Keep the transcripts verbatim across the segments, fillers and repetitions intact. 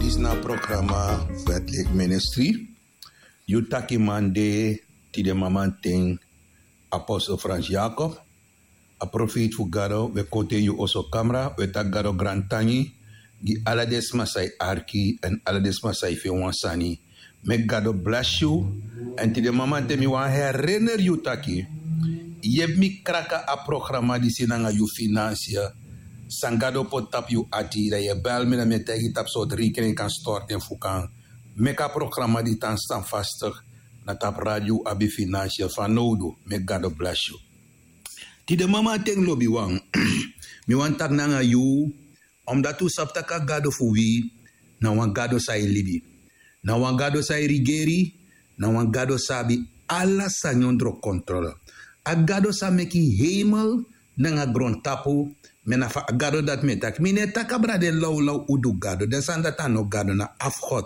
Isi na a programa fu Etlik Ministri. Yu taki man de tide mamanten, apostel Frans Jacob, a profeiti fu Gado. We kon te yu oso kamra, we taki Gado grantangi gi ala den sma san e arki èn ala den sma san e feni wan sani. Meki Gado blesi yu. Èn tide mamanten mi wani herineri yu taki, yepi mi kraka a programa disi nanga yu finansi. San Gado poti tapu yu ati, dan yu e bel mi, dan mi e taigi yu tapu sortu rekening kan stortu en fu kan meki a programa di tan stan fastig na tapu radio abi finansi fanowdu. Meki Gado blesi yu. Tide mamanten lobiwan, mi wani taki nanga yu, omdati un sabi tak' a Gado fu wi na wan Gado san e libi, na wan Gado san e rigeri, na wan Gado san abi ala sani ondro kontrole. A Gado san meki heimel nanga grontapu. Mi na fu a Gado dati mi e taki. Mi no e taki abra den lawlaw udu gado, den sani dati a no Gado, na afgod.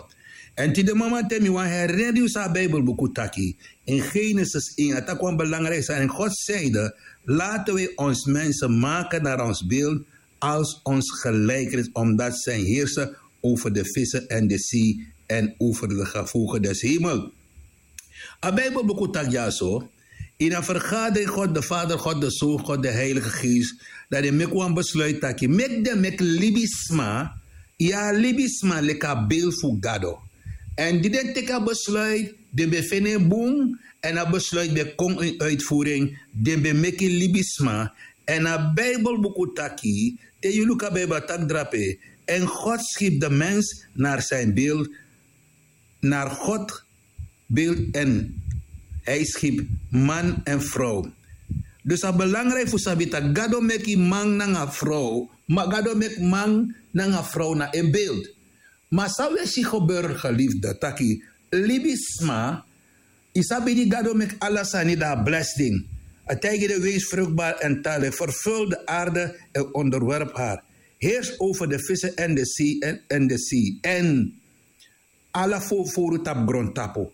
Èn tide mamanten mi wani herineri yu san a Bijbelbuku taki. In Genesis één a taki wan belangriki sani. God zeide: laten wij ons mensen maken naar ons beeld, als ons gelijkenis, omdat zij heersen over de vissen en de zee en over de gevolgen des hemels. A Bijbelbuku taki dyaso, ini a vergadering, God de Vader, God de Zoon, God de Heilige Geest, dan den meki wan besluit taki meki den meki libisma, ya, libisma leki a beeld fu Gado. Èn di den teki a besluit, den ben feni en bun, èn a besluit ben kon in uitvoering. Den ben meki libisma. Èn a Bijbelbuku taki, te yu luku a Bijbel a taki drape: en God schiep de mens naar zijn beeld, naar God beeld en hij schiep man en vrouw. Dus a belangriki fu sabi tak' Gado meki man nanga vrouw, ma Gado meki man nanga vrouw na en beeld. Ma san wi e si gebeuren, geliefde, taki libisma, yu sabi di Gado meki ala sani, dan a blesi den. A taigi den: wees vruchtbaar en talrijk, vervul de aarde en onderwerp haar, heers over de vissen en de zee en, en de zee en ala fowru tapu grontapu.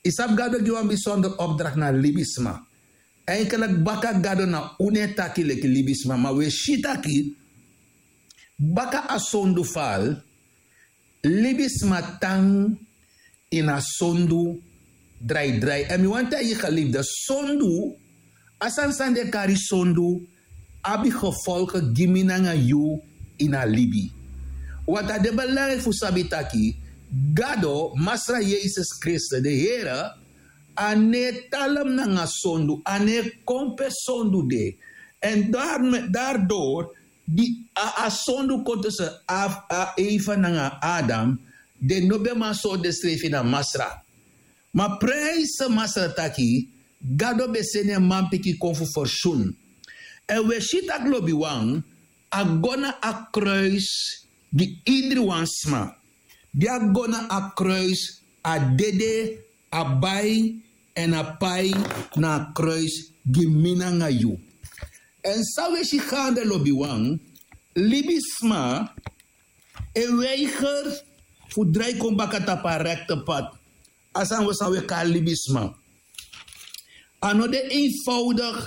Yu sabi Gado gi wan bisonder opdracht na libisma. Eigenlijk baka Gado na unu e taki leki libisma, ma wi e si taki baka a sondu fal, libisma tan ini a sondu draidrai. Èn mi wani taigi yu, geliefde, sondu, a sani san den kari sondu, abi gevolgen gi mi nanga yu ini a libi. Want a de belangriki fu sabi taki Gado, Masra Yesus Kristus, de Here, a no e talem nanga sondu, a no e kon pe sondu de. Èn daar, daardoor, di a, a sondu kon tussen Af-, a Eva nanga Adam, den no ben man sori densrefi na Masra. Ma prijs Masra taki Gado ben seni en manpikin kon fu fersun. Èn wi e si taki lobiwan, a go na a kruis gi indri wan sma. Di a go na a kruis, a dede, a bai èn a pai na a kruis gi mi nanga yu. Èn san wi e si gaande, lobiwan, libisma e weiger fu drai kon baka tapu a rekte pad. A sani wi, san wi e kari libisma. A no de eenvoudig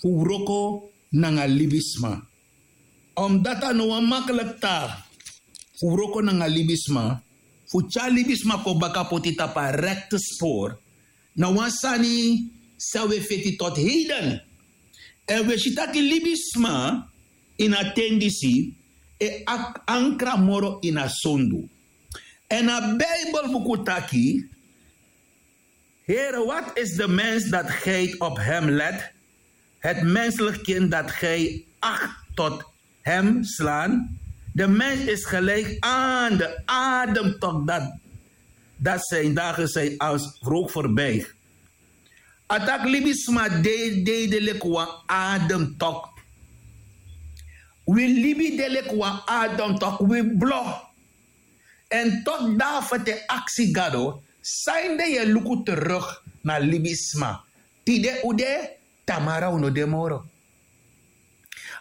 fu wroko nanga libisma. Omdat a no wan makkelijk taak fu wroko nanga libisma, fu tyari libisma kon baka poti tapu a rekte spoor, na wan sani san wi e feti tot heden. Èn wi e si taki libisma ini a ten disi e ak-, ankra moro ini a sondu. Èn a Bijbelbuku taki: Heere, wat is de mens dat gij op hem let, het menselijk kind dat gij acht tot hem slaan? De mens is gelijk aan de ademtok dat, dat zijn dagen zijn als rook voorbij. A taki libisma de, de, de leki wan ademtok. Wi libi de leki wan ademtok, wi blo. Èn toch David e aksi Gado: sanede yu e luku terug na libisma? Tide un de, tamara un no de moro.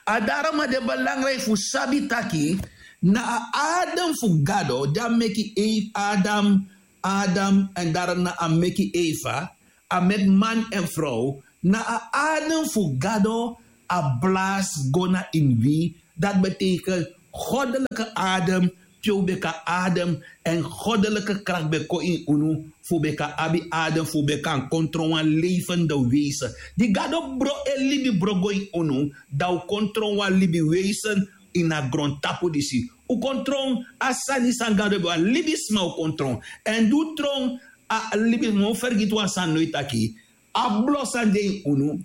A daarom a de belangrijk fu sabi taki na a adem fu Gado di a meki Eve, Adam, Adam, èn daarom na a meki Eva, a meki man en vrouw, na a adem fu Gado a blaas go na ini wi. Dat betekent goddelijke adem te un ben kan adem. Èn godelike krakti ben kon ini unu fu un ben kan abi adem, fu un ben kan kon tron wan levende wezen. Di gado bron en libi bron go ini unu, dan un kon tron wan libi wezen ini a grontapu disi. Un kon tron a sani san gado ben wani. Libisma un kon tron. Èn di un tron a libisma, un fergiti wan sani no e taki a blo san de ini unu,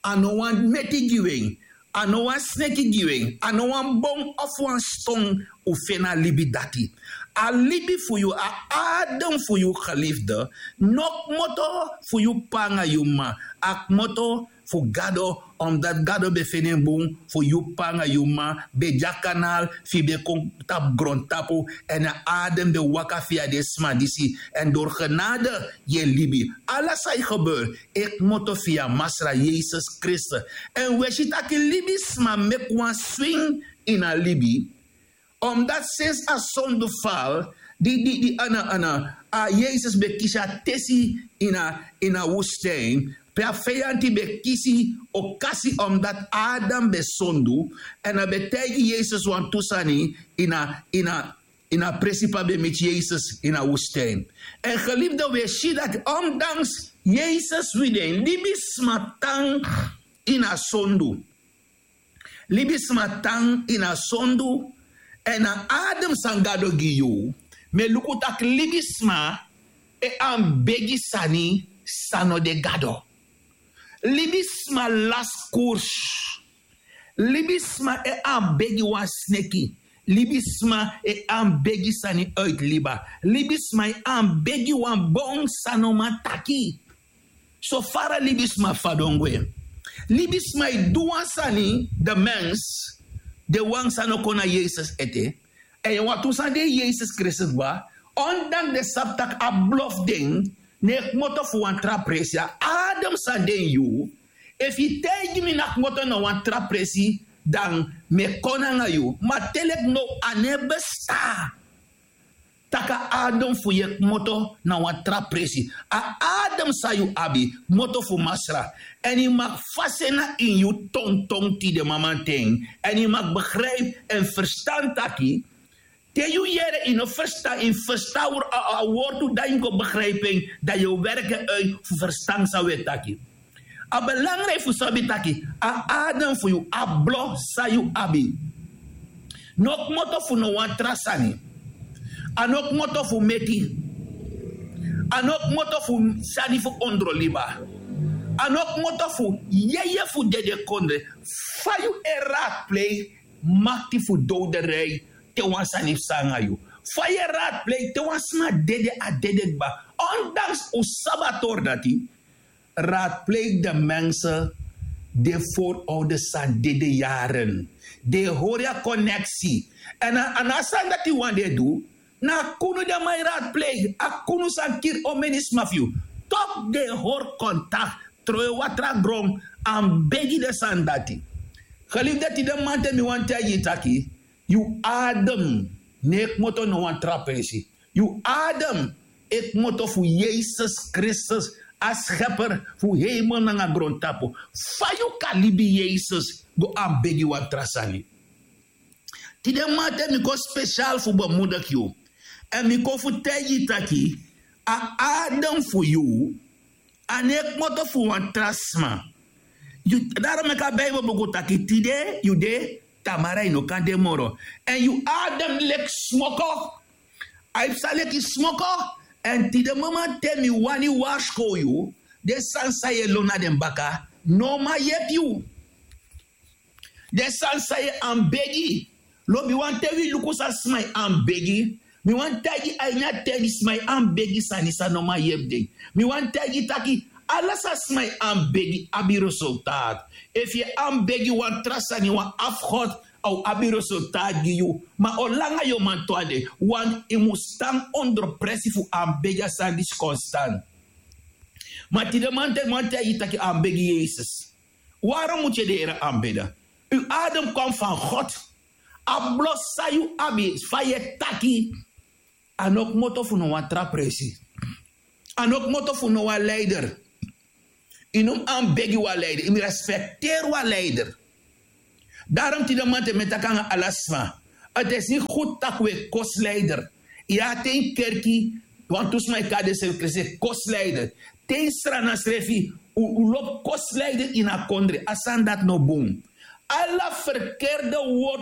a no wan meti gi wi en, a no wan sneki gi wi en, a no wan bon of wan ston. Un feni a libi dati. A libi fu yu, a adem fu yu, gelifde, no kmoto fu yu p'pa nanga yu m'ma. A kmoto fu gado, omdati gado ben feni en bun fu yu p'pa nanga yu m'ma ben de a kanal fu yu ben kon tapu grontapu. Èn a adem ben waka fia den sma disi. Èn dori genade yu e libi. Ala san e gebeur e kmoto fia masra yesus kristus. Èn wi e si taki libisma meki wan swing ini a libi. Omdati sensi a sondu fal di di di ana ana a yesus ben kisi a tesi ini a ini a wustijn, pe a feyanti ben kisi okasi omdati adam ben sondu. Èn a ben taigi yesus wantu sani ini a ini a ini a presi pe a ben miti yesus ini a wustijn. Èn gelifde wi e si dati omdanks yesus wi den libisma tan ini a sondu. Libisma tan ini a sondu. Èn a adem san gado gi yu, mi e luku tak' libisma e anbegi sani san no de gado. Libisma lasi kursu. Libisma e anbegi wan sneki. Libisma e anbegi sani uiti liba. Libisma e anbegi wan bon san no man taki. So fara libisma fadon gwe. Libisma e du wan sani de mens, de wan san no kon na yesus ete. Èn yu wantu san de yesus kristus gba. Ondanks den sabi tak' a blo fu den no e kmoto fu wan tra presi a adem san de ini yu. Efu yu taigi mi na kmoto na wan tra presi, dan mi e kon nanga yu. Ma te leki now a no e bestan tak' a adem fu yu e kmoto na wan tra presi. A adem san yu abi kmoto fu masra. Èn yu maki fasi en na ini yu tonton tide mamanten. Èn yu maki begripi èn ferstan taki te yu yere yu no ferstan yu ferstan a wortu dan yu go begripi en, dan yu o werki en uiti fu ferstan san wi e taki. A belangriki fu sabi taki a adem fu yu a blo san yu abi no kmoto fu no wan tra sani. A no kmoto fu meti. A no kmoto fu sani fu ondroliba. A no kmoto fu yeye fu dedekondre. Fa yu e ratpleiki makti fu dowderei te wan sani psa nanga yu? Fa yu e ratpleiki te wan sma dede a dede kba? Ondanks un sabi a tori dati. Raadpleeg de mensen de voorouders san dede yaren. Den e hori a koneksi. Èn a na a sani dati wan den e du. Na a kunu den man e raadpleeg a kunu san kiri omeni sma fu yu. Toku den e hori kontakti, trowe watra gron, anbegi den sani dati. Gelifi dati den man te mi wani taigi yu taki yu adem no e kmoto no wan tra presi. Yu adem e kmoto fu yesus kristus, a skeper fu heimel nanga grontapu. Fa yu kan libi yesus go anbegi wan tra sani? Tide man te mi kon spesial fu bemudiki yu. Èn mi kon fu taigi yu taki a adem fu yu a no e kmoto fu wan tra sma. Daro meki a bibel buku taki tide yu de, tamara yu no kan de moro. Èn yu adem leki smoko. A e psa leki smoko. Èn tide mama te mi wani warskow yu, den sani san yu e lon na den baka no man yepi yu. Den sani san yu e anbegi. Lobi wan ten wi luku san sma e anbegi. Mi wani taigi a ini a ten di sma e anbegi sani san no man yepi den. Mi wani taigi taki ala san sma e anbegi abi resultaati. Efu yu e anbegi wan tra sani wan afgod, a o abi resultaati gi yu. Ma olanga yu o man tu a de. Wantu yu mus tan ondro presi fu anbegi a sani disi konstan. Ma tide man te mi wani taigi taki anbegi yesus. Waro mutu yu e de ere anbeda? Yu adem kon fan god. A blo san yu abi fa yu e taki. A no kmoto fu no wan tra presi. A no kmoto fu no wan leider. Yu no mus anbegi wan leider yu mus respekteri wan leider. Darom tide man te mi e taki nanga ala sma. Ati esi fu tak' wi e kosleider. Ya te yu kerki, wantu sma e kari den srefi kresi e kosleider. Te yu srana srefi, un lobi kosleider ini a kondre. A sani dati no bun. Ala ferkerde word